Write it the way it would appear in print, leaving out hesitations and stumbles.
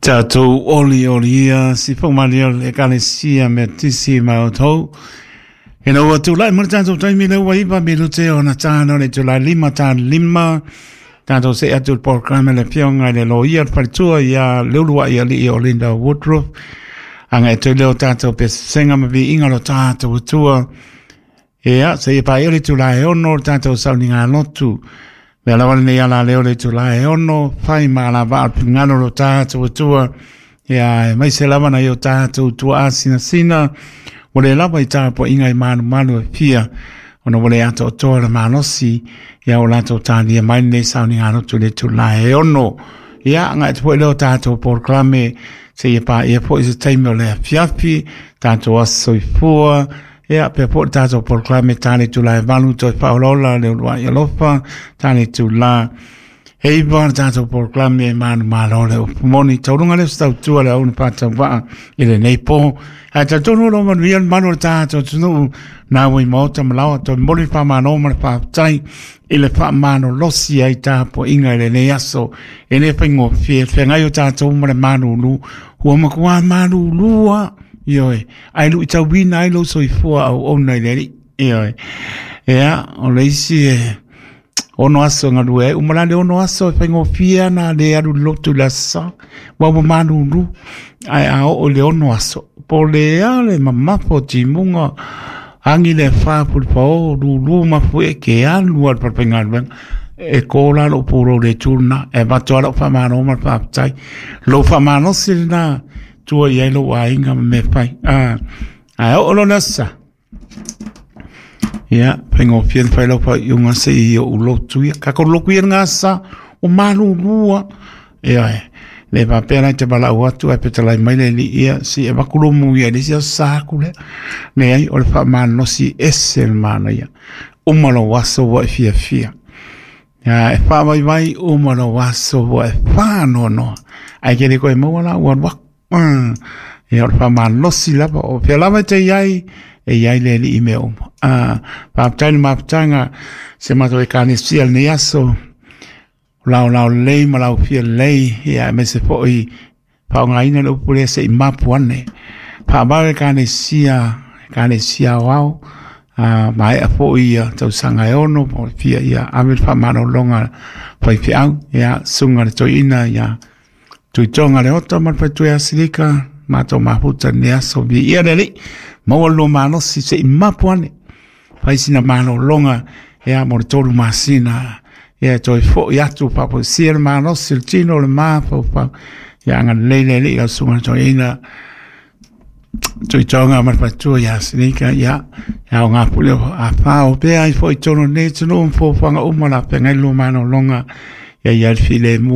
Tatou oli oli ia si faumalia o le Ekalesia Metisi ma outou. Ina ua tulai mai le tatou taimi lea ua 9 minute ona tano le itula 5 ta 5 tatou see atu i le polokalame le afioga i le loia le faletua ia Leuluai Alii o Linda Woodruff. Aga e toe leo tatou pesega ma viiga lo tatou Atua. Ia, seia paia le itula e 6 le tatou sauniga lotu. Mea lava lenei ala leo le itula e 6, fai ma alavaa o le finagalo lo tatou Atua. Ia, e maise lava na i o tatou tuaa sinasina, ua le lava i tapuaiga i malumalu e fia, ona ua le atoatoa le malosi, ia o latou talia mai lenei sauniga lotu le itula e 6. Ia, agai atu foi leo tatou polokalame, seia paia foi se taimi o le afiafi, tatou aso soifua. Ia, pea foi le tatou polokalame ta le itula e 8 toe faaolaola le uluai alofa, ta le itula e 9 le tatou polokalame e manumalo le upu moni. Tauluga lea o se tautua le auna faatauvaa i lenei po. Ae talitonu o lo o manuia le malu o le tatou atunuu na ua i maota ma laoa toe momoli le faamalo ma le faafetai i le faamalolosi ai tapuaiga i lenei aso. E le faigofie le feagai o tatou ma le malulu, ua matua malulu lava. Ioe, ae luitauina ai lou soifua auauna i le Alii. Ioe. Ia, o le isi e 6 aso e galue ai, uma la le 6 aso e faigofie ana le alu i le lotu i le aso Sa, ua ua malulu. Ae a oo i le 6 aso, po o le a le mamafa o timuga, agi le afa pulupao, lulu mafuie ke alu lava i le falefaigaluega. E kō la lou pulou i le itu lena, e avatu lava lau faamalo ma le faafetai. Lou faamalosi lena tua i ai lou aiga ma mea fai. Ae oo loa le aso Sa, ia, faigofie ona fai lau faaiuga se i ou lotu ia. Tatou lotu ia i lena aso Sa, ua malulu lava. Ioe, le faapea la e te valaau atu ae fetalai mai le alii ia, se i avatu lou muia i le isi aso Sa atu lea. Leai, o le faamalosi ese le manaia. Uma lou aso ua e fiafia. Ia, e faavaivai uma lou aso ua e faanoanoa. Ae ke le koe maua la ua alu aku. Ia, o le faamalosi lava, o fea lava e te i ai, e i ai le Alii i mea uma. Faafetai le mafutaga se matou Ekalesia i lenei aso, o laolao lelei ma laufia lelei, ia aemaise foi faaaogaina le upu lea se i mapu ane. Faavae Ekalesia, Ekalesia aoao, maea foi ia tausaga e 6 po o le fia, ia ave le faamalologa faifeau, ia susuga i le toeaina ia Tuitoga Leota ma le faletua ia Silika, matou mafuta i lenei aso, viia le Alii, maua le lua malosi se i mapu ane, fai sina malologa ia mo le 3 masina, ia e toe foi atu faafoisia le malosi o le tino o le mafaufau, ia agalelei le Alii lau susuga i le toeaina Tuitoga ma le faletua ia Silika, ia e aoga foi le a o pea ai foi i totonu o lenei atunuu ma fuafuaga uma o le a feagai le lua malologa, ia i ai le filemu.